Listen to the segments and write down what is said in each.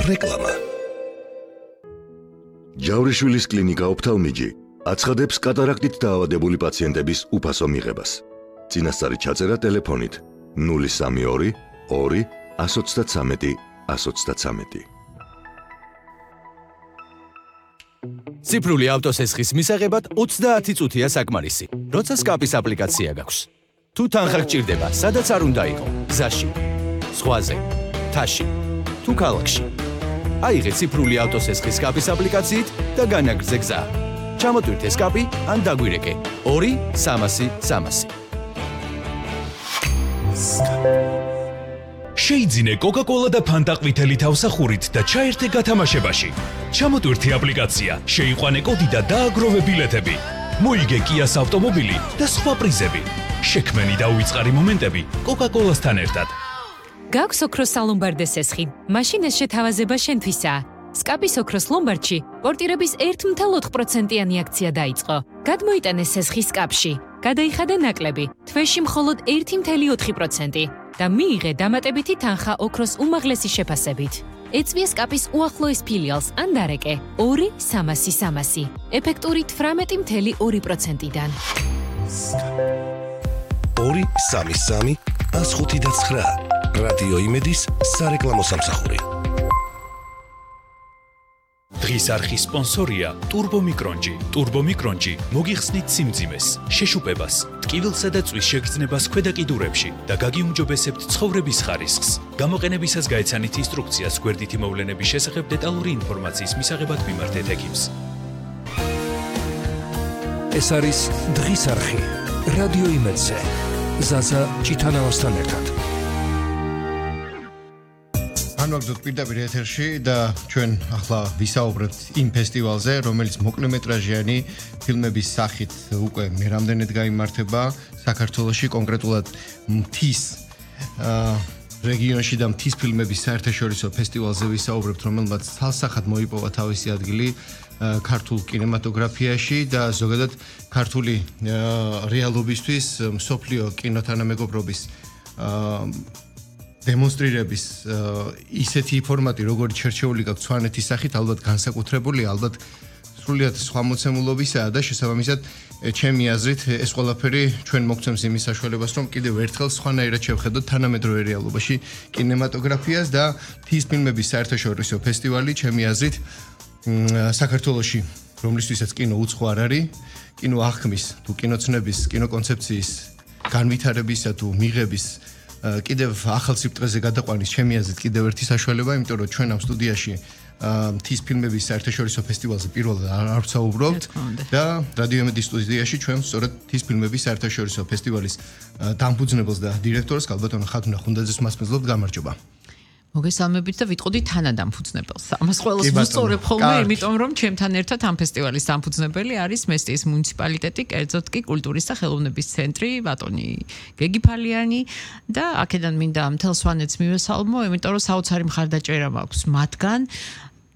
რეკლამა. ჯავრიშვილის კლინიკა ოფთალმიჯი აცხადებს კატარაქტით დაავადებული პაციენტების უფასო მიღებას. წინასწარი ჩაწერა ტელეფონით 032 2 133 133. ციფრული ავტოსესხის მისაღებად 30 წუთია საკმარისი, როცა სკაპის აპლიკაცია გაქვს. თუ თანხა გჭირდება, სადაც არ უნდა იყო, გზაში, ზღვაზე, თაში, თუ ქალაქში. აიღე ციფრული ავტოსესხის სკაპის აპლიკაციით და განაგრძე გზა. ჩამოტვირთე სკაპი ან დაგვირეკე 2-300-300. შეიძინე კოკა-კოლა და ფანტა ყვითელი თავსახურით და ჩაერთე გათამაშებაში. ჩამოტვირთე აპლიკაცია, შეიყვანე კოდი და დააგროვე ბილეთები. მოიგე კიას ავტომობილი და სხვა პრიზები. შექმენი და უიწყარი მომენტები კოკა-კოლასთან ერთად. გაქვს ოქროს სალომბარდე სესხი. მაშინ ეს შეთავაზება შენთვისაა. სკაპის ოქროს ლომბარდში პორტირების 1.4%-იანი აქცია დაიწყო. გადმოიტანე სესხის სკაპში. გადაიხადე ნაკლები, თვეში მხოლოდ 1.4% და მიიღე დამატებითი თანხა ოქროს უმაღლესი შეფასებით. ეწვია სკაპის უახლოეს ფილიალს ან დარეკე 2-300-300, ეფექტური 18.2%-დან. 2-3-3-105-9 რადიო იმედის სარეკლამო სამსახური. დღის არხის სპონსორია ტურბომიკრონჯი. ტურბომიკრონჯი მოგიხსნით სიმძიმეს, შეშუპებას, ტკივილსა და წვის შეგრძნებას ქვედა კიდურებში და გაგიუმჯობესებთ ცხოვრების ხარისხს. გამოყენებისას გაეცანით ინსტრუქციას გვერდითი მოვლენების შესახებ დეტალური ინფორმაციის მისაღებად მიმართეთ ექიმს. ეს არის დღის არხი რადიო იმედზე. ზაზა ჭიტანავასთან ერთად. განვაგრძოთ პირდაპირ ეთერში და ჩვენ ახლა ვისაუბრებთ იმ ფესტივალზე, რომელიც მოკლემეტრაჟიანი ფილმების სახით უკვე მე რამდენად გაიმართება საქართველოში, კონკრეტულად მთის რეგიონში და მთის ფილმების საერთაშორისო ფესტივალზე ვისაუბრებთ, რომელმაც თალსახად მოიპოვა თავისი ადგილი ქართულ კინემატოგრაფიაში და ზოგადად ქართული რეალობისთვის მსოფლიო კინოთანამეგობრობის დემონსტრირების ისეთი ფორმატი, როგორც შერჩეული გაქვს სვანეთის სახით, ალბათ განსაკუთრებული, ალბათ სრულიად სხვა მოცემულობისაა და შესაბამისად ჩემი აზრით ეს ყველაფერი ჩვენ მოგცემს იმის საშუალებას, რომ კიდევ ერთხელ სხვანაირად შევხედოთ თანამედროვე რეალობაში კინემატოგრაფიას და მთის ფილმების საერთაშორისო ფესტივალი ჩემი აზრით საქართველოში, რომლისთვისაც კინო უცხო არ არის, კინო აღქმის თუ კინოცნების, კინოკონცეფციის განვითარებისა თუ მიღების კიდევ ახალ სიბრტყეზე გადაყვანის ჩემი აზრით კიდევ ერთი საშუალება, იმიტომ რომ ჩვენ ამ სტუდიაში მთის ფილმების საერთაშორისო ფესტივალზე პირველად არ ვსაუბრობთ და რადიო იმედის სტუდიაში ჩვენ სწორედ მთის ფილმების საერთაშორისო ფესტივალის დამფუძნებელს და დირექტორს ქალბატონ ხათუნა ხუნდაძეს მასპინძლობთ. გამარჯობა. მოგესალმებით და ვიტყოდი თანადამფუძნებელს. ამას ყველას ვუსწორებ ხოლმე, იმიტომ რომ ჩემთან ერთად ამ ფესტივალის დამფუძნებელი არის მესტიის მუნიციპალიტეტი, კერძოდ კი კულტურის და ხელოვნების ცენტრი, ბატონი გეგი ფალიანი და აქედან მინდა მთელ სვანეთს მივესალმო, იმიტომ რომ საოცარი მხარდაჭერა მაქვს მათგან.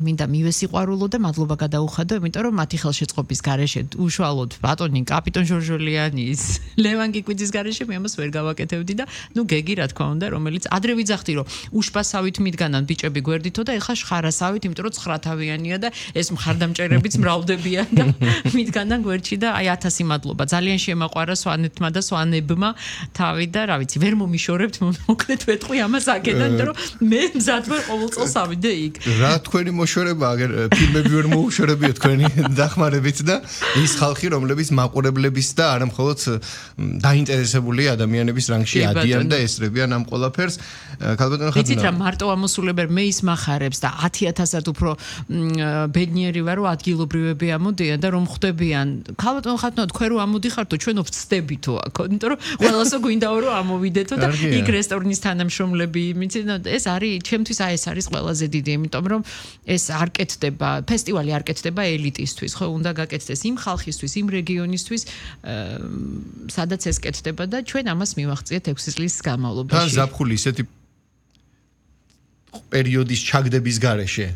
მინდა მივესიყვარულო და მადლობა გადაუხადო, იმიტომ რომ მათი ხელშეწყობის გარეშე უშუალოდ ბატონი კაპიტონ ჟორჟოლიანის, ლევან კიკვიძის გარეშე მე ამას ვერ გავაკეთებდი და ნუ გეგი რა თქმა უნდა, რომელიც ადრე ვიძახდი რომ უშპასავით მიდგანან ბიჭები გვერდითო და ეხლა შხარასავით, იმიტომ რომ 9 თავიანია და ეს მხარდამჭერებიც მრავლდებიან და მიდგანან გვერდში და აი 1000 მადლობა. ძალიან შემაყვარა სვანეთმა და სვანებმა თავი და რა ვიცი, ვერ მომიშორებთ, მოკლედ ვეთყვი ამას აქედან, იმიტომ რომ მე მზად ვარ ყოველ წელს ავიდე იქ. რა თქვენი მოშორება, აგერ ფილმები ვერ მოუშორებია თქვენი დახმარებით და ის ხალხი, რომლებიც მაყურებლების და არა მხოლოდ დაინტერესებული ადამიანების რანგში ადიან და ესწრებიან ამ ყველაფერს. ქალბატონ ხათუნა. ვიცით რა, მარტო ამოსულებერ მე ის მახარებს და 10,000-ად უფრო ბედნიერი ვარ, რომ ადგილობრივები ამოდიან და რომ ხვდებიან. ქალბატონ ხათუნა, თქვენ რო ამოდიხართო, ჩვენო ვწდებითო აქ, იმიტომ რომ ყველასო გვინდაო რომ ამოვიდეთო და იქ რესტორნის თანამშრომლები, ეს არის, ჩემთვის ეს არის ყველაზე დიდი, იმიტომ რომ ეს არ კეთდება, ფესტივალი არ კეთდება ელიტისთვის, ხო, უნდა გაკეთდეს იმ ხალხისთვის, იმ რეგიონისთვის, სადაც ეს კეთდება და ჩვენ ამას მივახციეთ 6 წლის განმავლობაში. თან ზაფხული ისეთი პერიოდის ჩაგდების გარეშე,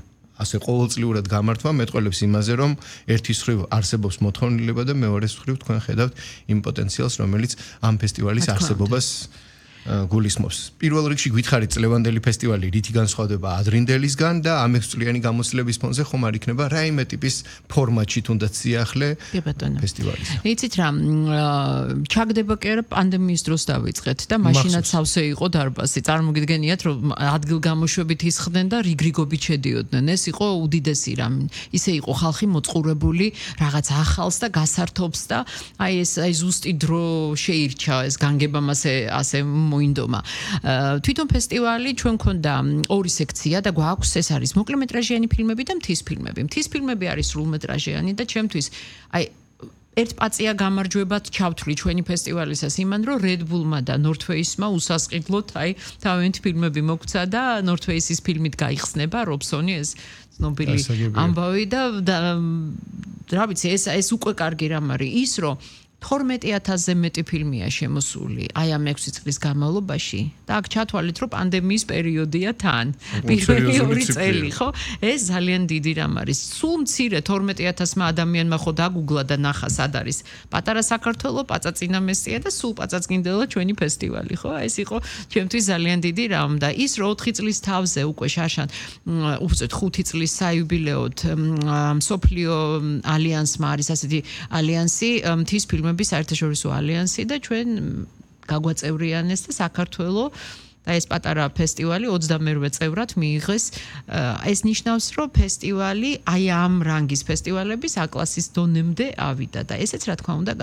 ასე ყოველწლიურად გამართვა მეტყველებს იმაზე, რომ ერთის მხრივ არსებობს მოთხოვნილება და მეორეს მხრივ თქვენ ხედავთ იმ პოტენციალს, რომელიც ამ ფესტივალის არსებობას გულისხმობს. პირველ რიგში გითხარით წლევანდელი ფესტივალი რითი განსხვავდება ადრინდელისგან და ამ 6 წლიანი გამოცდილების ფონზე ხომ არ იქნება რაიმე ტიპის ფორმატში თუნდაც სიახლე ფესტივალის. იცით რა, ჩაგდება კი არა პანდემიის დროს დავიწყეთ და მაშინაც სავსე იყო დარბაზი. წარმოგიდგენიათ რომ ადგილგამოშვებით ისხდნენ და რიგრიგობით შედიოდნენ. ეს იყო უდიდესი რამ. ისე იყო ხალხი მოწყურებული რაღაც ახალს და გასართობს და აი ზუსტი დრო შეირჩა ეს განგებამ ასე მოინდომა. თვითონ ფესტივალი ჩვენ ქონდა ორი სექცია და გვაქვს ეს არის მოკლემეტრაჟიანი ფილმები და მთის ფილმები. მთის ფილმები არის სრულმეტრაჟიანი და ჩემთვის აი ერთ პაწია გამარჯვებად ჩავთვლი ჩვენი ფესტივალისას იმან რომ Red Bull-მა და North Face-მა უსასყიდლოდ აი თავიანთი ფილმები მოგცა და North Face-ის ფილმით გაიხსნება Robson-ი ეს ცნობილი ამბავი და რა ვიცი ეს უკვე კარგი რამ არის ის რომ 12,000-ზე მეტი ფილმია შემოსული აი ამ 6 წლის განმავლობაში და აქ ჩათვალეთ რომ პანდემიის პერიოდია თან პირველი 2 წელი ხო ეს ძალიან დიდი რამ არის სულ მცირე 12,000-მა ადამიანმა ხო დაგუგლა და ნახა სად არის პატარა საქართველო პაწაწინამესია და სულ პაწაწკინდელა ჩვენი ფესტივალი ხო ეს იყო ჩემთვის ძალიან დიდი რამ და ის რომ 4 წლის თავზე უკვე შაშან უბრალოდ 5 წლის საიუბილეოდ მსოფლიო ალიანსმა არის ასეთი ალიანსი მთის ფილმების საერთაშორისო ალიანსი და ჩვენ გაგვაწევრიანეს და საქართველოს და ეს პატარა ფესტივალი 28 წევრად მიიღეს ეს ნიშნავს რომ ფესტივალი აი ამ რანგის ფესტივალების A-კლასის დონემდე ავიდა და ესეც რა თქმა უნდა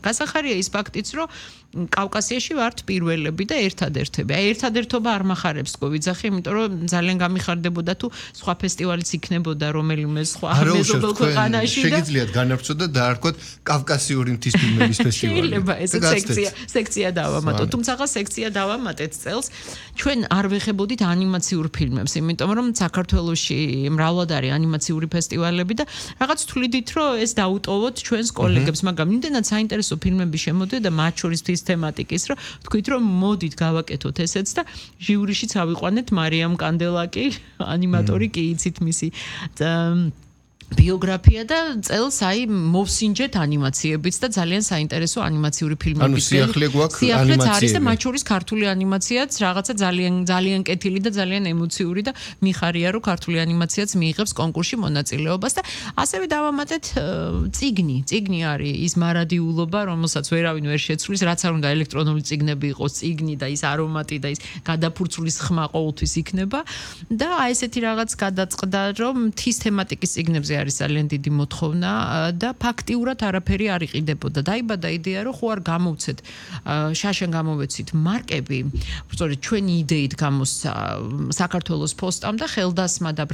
გასახარია ის ფაქტიც რომ კავკასიაში ვართ პირველები და ერთადერთები აი ერთადერთობა არ მახარებს კოვიძახი იმიტომ რომ ძალიან გამიხარდებოდა თუ სხვა ფესტივალიც იქნებოდა რომელიმე სხვა მეზობელ ქვეყანაში და შეგიძლიათ განავრცოთ და დაარქვათ კავკასიური მთის ფილმების ფესტივალი შეიძლება ეს სექცია დავამატოთ თუმცა სექცია დავამატეთ წელს ჩვენ არ ვეხებოდით ანიმაციურ ფილმებს, იმიტომ რომ საქართველოში მრავლად არის ანიმაციური ფესტივალები და რაღაც თვლიდით რომ ეს დაუტოვოთ ჩვენს კოლეგებს, მაგრამ იმდენად საინტერესო ფილმები შემოდიოდა მათ შორის ის თემატიკის, რომ თქვით რომ მოდით გავაკეთოთ ესეც და ჟიურიშიც ავიყვანეთ მარიამ კანდელაკი, ანიმატორი კი იცით მისი ბიოგრაფია და წელს აი მოვსინჯეთ ანიმაციებიც და ძალიან საინტერესო ანიმაციური ფილმები. ანუ სიახლე გვაქვს ანიმაციები. არის და მათ შორის ქართული ანიმაციაც რაღაცა ძალიან კეთილი და ძალიან ემოციური და მიხარია რომ ქართული ანიმაციაც მიიღებს კონკურსში მონაწილეობას და ასევე დავამატეთ წიგნი არის ის მარადიულობა რომელსაც ვერავინ ვერ შეცვლის რაც არ უნდა ელექტრონული წიგნები იყოს წიგნი და ის არომატი და ის გადაფურცulis ხმა ყოველთვის იქნება და აი ესეთი რაღაც გადაწყდა რომ მთის თემატიკის წიგნებზე არის ძალიან დიდი მოთხოვნა და ფაქტიურად არაფერი არ იყიდებოდა. დაიბადა იდეა რომ ხო არ გამოვცეთ შაშენ გამოვეცით მარკები, სწორედ ჩვენი იდეით გამოსცა საქართველოს ფოსტამ და ხელდასმა და